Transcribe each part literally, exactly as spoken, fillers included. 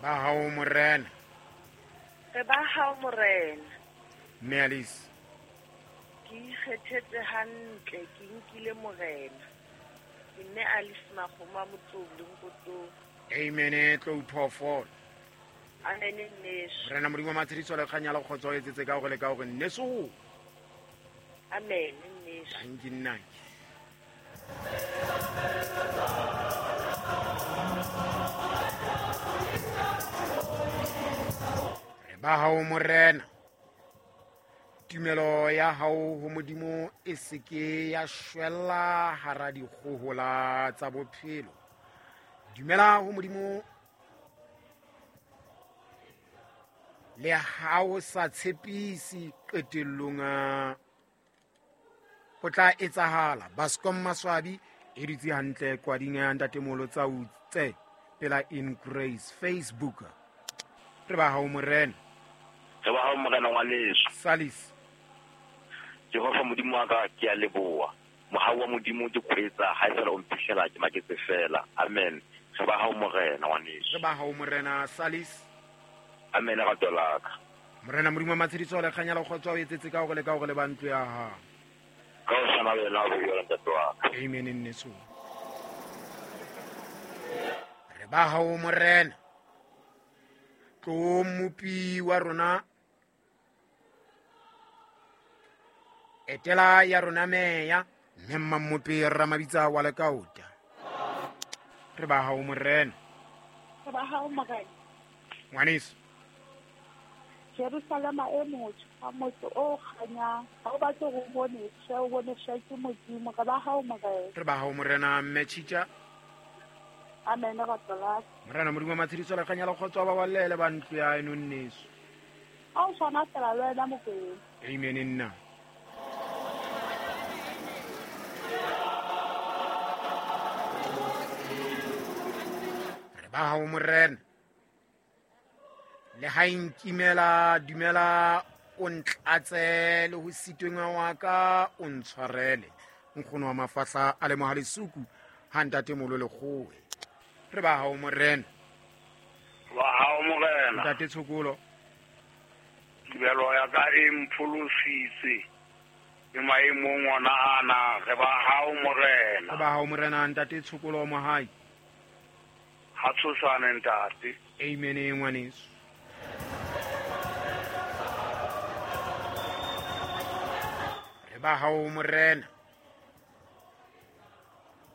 Ba hao morena. Re ba hao morena. Mme Alice. Ke ikgethetse hantle, ke nkile morena. Ke mme Alice Makgoma Motlobu Nkoto. Amen tlo phoofolo. Amen nneso. Morena Modimo wa matshediso le kganya le kgotso etsetse ka hore le ka hore nneso. Amen nneso. Thank you nnake. Re ba hao morena. Tumelo ya hao ho Modimo e seke ya shwella hara dikgohola tsa bophelo. Dumela ho Modimo le ha o sa tshepisi qetellong ho tla etsahala. Bascom Maswabi e dutse hantle kwading ya ntatemolo tsa utse pela in Grace Facebook. Re ba hao morena. Re ba hao morena ngwaneso. Salis. Jehova Modimo wa ka ke a leboha. Mohau wa Modimo ke kgwetsa ha e fela o mphihlela ke maketse fela. Amen. Re ba hao morena ngwaneso. Re ba hao morena Salis. Amen rato la ka. Morena Modimo wa matshediso le kganya le kgotso o etsetse ka hore le ka hore le ba ntlo ya hao. Ka o tshwana le wena o bua ntate wa ka. Amen nneso. Re ba hao morena. Tlo mopi wa rona. Etela ya rona meya mme mmamope ramabitsa wa lekaota. Re ba hao morena. Re ba hao morena. Ngwaneso. Jerusalema e motjha, motse o kganyang. Ha o batle ho bone tjhe, o bone tjhe ke Modimo. Re ba hao morena. Re ba hao morena mme Tjitja. Amen rato la. Morena Modimo wa matshediso le kganya le kgotso ba balele ba ntlo ya eno nneso. Ha o tshwana fela le wena Mokwena. Amen nna. Re ba hao morena. Le ha nkimela dumela o ntlatse le ho sitweng wa ka o ntshwarele. Nkgono wa mafahla a le mohalesuku ha ntate molo lekgowe. Re ba hao morena. Ba hao morena. Ntate Tshokolo. Tumelo ya ka e mpholositse le maemong ona ana. Re ba hao morena. Re ba hao morena ntate Tshokolo Mohai. Ha tshosane ntate. Amen ngwaneso. Re ba hao morena.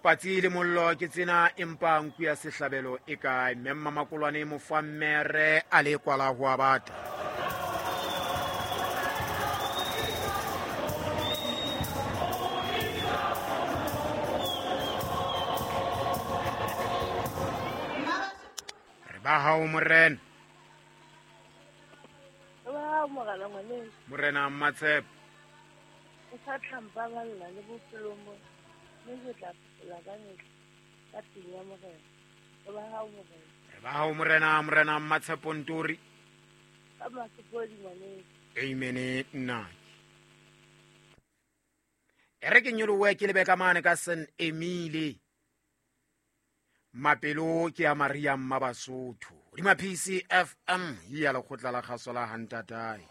Patsi le mollo ke tsena empa nku ya sehlabelo e kae? Mme Mmakolwane mofammere a le kwala ho a bata. Re ba hao morena. Re ba hao morena ngwaneso. Morena Mmatshepo. O sa tla mpaballa le bophelong bo mme ke tla phela ka mehla ka tlung ya morena. Re ba hao morena. Re ba hao morena, morena Mmatshepo Ntori. Ka masepodi ngwaneso. Amen nna. E re ke nyolowe ke lebe ka mane ka San Emile. Mapelo ke ya Maria Mmabasotho. Hodima P C F M ya lekgotla la kgaso la Hantatae.